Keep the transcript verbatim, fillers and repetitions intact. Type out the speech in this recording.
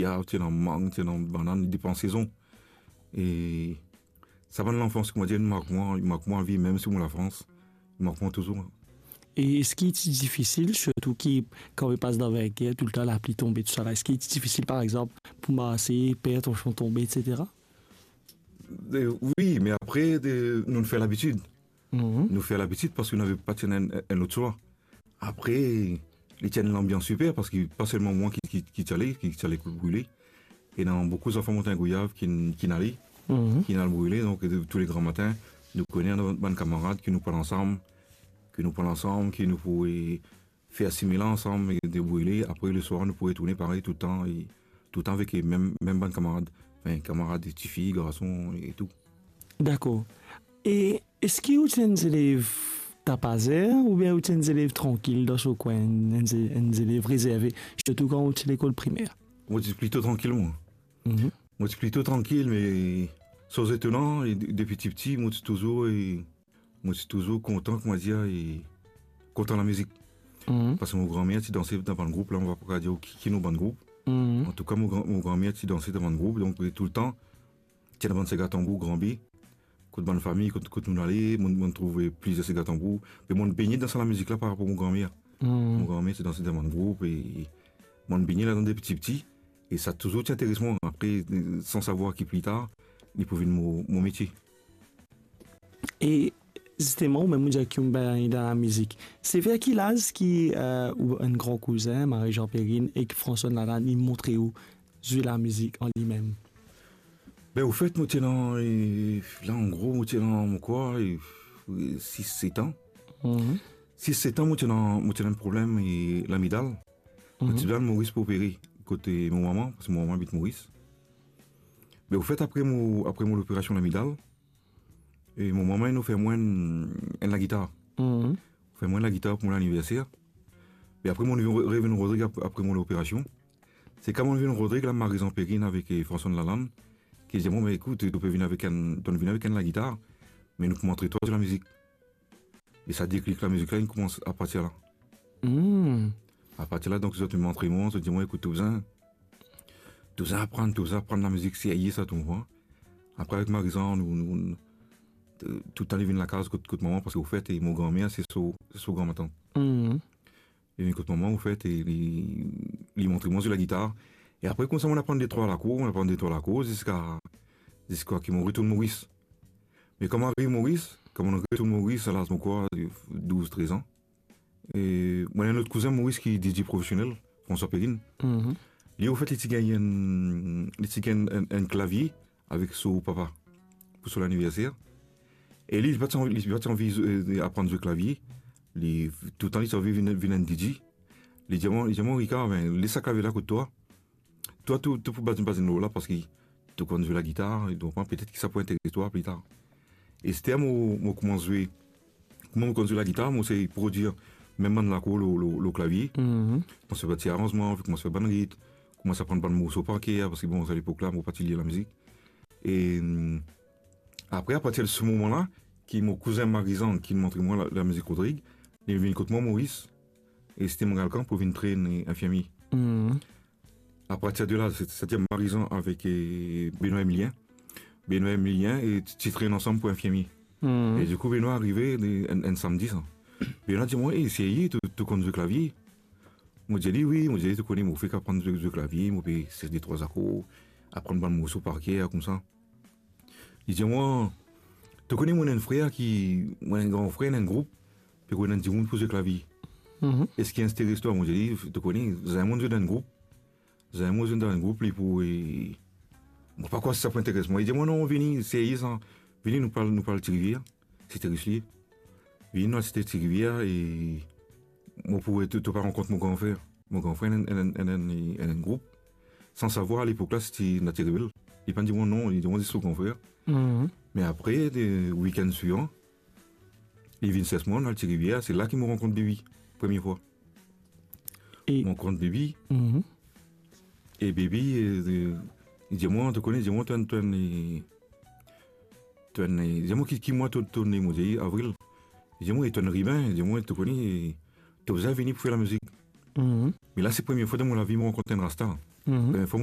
gwav, ti ena mang, ti ena banann, depan sezon. E sa bann lanfans, kouma dir, li mark mwa, li mark mwa avi, mem si mo Lafrans, li mark mwa touzour. E eski ti difisil, sirtou ki kan pe pas dan verger, toultan lapli tonbe, tousala, eski ti difisil, par exanp, pou marse, per tonchon tonbe, et cetera? E, wi, me apre, de, nou fer labitid. Mhm. Nou fer labitid parski nou napa ti ena enn, enn lot swa. Apre, li ti enn lanbians siper, parski pa selman mwa ki, ki, ki ti ale, ki, ki ti ale kot brile. Ena boukou zanfan Montagne Gouyave ki, ki ale, mhm, ki al brile. Donk, de, tou le gramatin, nou kone bann kamarad ki nou pran ansam, ki nou pran ansam, ki nou pou, e, fer sime la ansam, e, de brile. Apre, leswar, nou pou retourne parey toultan, e toultan avek, e, mem, mem bann kamarad. Anfin, kamarad, tifi, garson, e tou. Dakor. E eski ou ti enn zelev tapazer oubien ou ti enn zelev trankil dan so kwin, enn ze-, enn zelev rezerve, sirtou kan ou ti lekol primer? Mo ti plito trankil, mwa. Mhm. Mo ti plito trankil, me soz etonan, e de-, depi tipti, mo ti touzour, e mo ti touzour kontan, kouma dir, e kontan lamizik. Mhm. Parski mo granmer ti danse dan bann group, la, mo pa kapav dir ki, ki nom bann group. Mhm. Antouka, mo gran-, mo granmer ti danse dan bann group, donk, e, toultan, ti ena bann sega tanbour, granbe, kot bann fami, kot, kot nou ale, mo, mo trouv plizier sega tanbour. Me mo begne dan sa lamizik la par rapor mo granmer. Hmm. Mo granmer ti danse dan bann group, e mo begne ladan depi tipti, e sa touzour ti interes mwa. Apre, san savwar ki pli tar, li pou vinn mo, mo metie. E zisteman, ou mem ou dir ki ou bagne dan lamizik. Se ver ki laz ki, e, ou enn gran kouzin, Marie-Jean Perrine ek François Lalanne, inn montre ou zwe lamizik an limem? Be, anfet, mo ti ena, e, la, an gro, mo ti ena, mo krwar, e, e, sis, set an. Mhm. Sis, set an, mo ti ena, mo ti ena enn problem, e, lamidal. Mo ti bizin al Moris pou opere, kot mo mama, parski mo mama abit Moris. Be, anfet, apre mo, apre mo loperasion lamidal, e mo mama inn ofer mwa enn, enn lagitar. Mhm. Ofer mwa enn lagitar pou mo laniverser. Me apre, mo revinn, revinn Rodrig ap-, apre mo loperasion. Se kan mo revinn Rodrig la, Marie-Jean Perrine avek, e, François Lalanne, ki dir mwa, "Me ekout, to pe vinn avek enn, to vinn avek enn lagitar, me nou pou montre twa zwe lamizik." E sa deklik lamizik la, inn koumans apartir la. Hmm. Apartir la, donk, zot inn montre mwa, zot dir mwa, "Ekout, to bizin, to bizin aprann, to bizin aprann lamizik serye sa, to konpran." Apre, avek Marie-Jean, nou, nou, nou, toultan li vinn lakaz kot, kot mama, parski, anfet, e mo granmer, se so, se so granmatant. Hmm. Li vinn kot mama, anfet, e li, li montre mwa zwe lagitar. E apre, koumsa, mo aprann de trwa lakour, mo aprann de trwa lakour, ziska, ziska ki mo retourn Moris. Me kan mo ariv Moris, kan mo retourn Moris, a laz, mo krwar, douz, trez an, e mo ena enn lot kouzin Moris ki DJ profesionel, François Perrine. Mhm. Li, anfet, li ti gagn enn, li ti gagn enn, enn klavie avek so papa pou so laniverser. E li, li pa ti anvi, li pa ti anvi, e, aprann zwe klavie. Li, toultan li ti anvi vinn, vinn enn DJ. Li dir mwa, li dir mwa, "Ricard, be, les sa klavie la kot twa. Twa, to, to pou baz, baz enn lor la, parski to konn zwe lagitar, e donk, petet ki sa pou interes twa pli tar." E se la mo, mo koumans zwe. Kouma mo konn zwe lagitar, mo sey prodir mem bann lakour lor, lor, lor klavie. Mhm. Koumans fer bann ti aranzman, koumans fer bann rit, koumans aprann bann morso par ker, parski, bon, sa lepok la, mo pa ti lir lamizik. E, mm, apre, apartir de se moman la, ki mo kouzin Marie-Jean ki montre mwa la, lamizik Rodrig, li vinn kot mwa Moris, e se ti mo galkan pou vinn trenn, e, infirmie. Mhm. Apartir de la, se, se ti Marie-Jean avek, e, Benoît Emilien. Benoît Emilien, e, ti, ti trenn ansam pou infirmie. Mhm. E dikou, Benoît arive, e, enn, enn samdi sa. Benoît dir mwa, "E, serye, to, to konn zwe klavie?" Mo dir li, "Wi." Mo dir li, "To kone, mo fek aprann zwe, zwe klavie, mo pe sef de trwa akour, aprann bann morso par ker, koumsa." Li dir mwa, "To kone, mo ena enn frer ki, mo ena enn gran frer, ena enn group, pe ena dimoun pou zwe klavie. Mhm. Eski interes twa?" Mo dir li, "To kone, zame mo zwe dan enn group. Zame mo zwe dan enn group, li pou, e, mo pa krwar si sa pou interes mwa." Li dir mwa, "Non, vini, serye sa. Vini, nou pou al, nou pou al Ti Rivier." Sete Rislier. Vini, nou al Sete Ti Rivier, e mo pou, e, to, to pa rankont mo gran frer. Mo gran frer ena enn, ena enn, ena enn, ena enn group. San savwar, alepok la, se ti Naty Rebel. Li pa dir mwa non, li dir mwa zis so gran frer. Mhm. Me apre, de wikenn swivan, li vinn sers mwa, nou al Ti Rivier, se la ki mo rankont Baby, premie fwa. E mo rankont Baby. Mhm. E Baby, e, e, li dir mwa, "To kone," li dir mwa, "to enn, to enn, e, to enn, e," li dir mwa, "Ki, ki mwa to, to ne?" Mo dir, "Avril." Li dir mwa, "E to enn riben," li dir mwa, "To kone, e, to bizin vini pou fer lamizik." Mhm. Me la, se premie fwa dan mo lavi mo rankont enn rasta. Mhm. Premie fwa mo,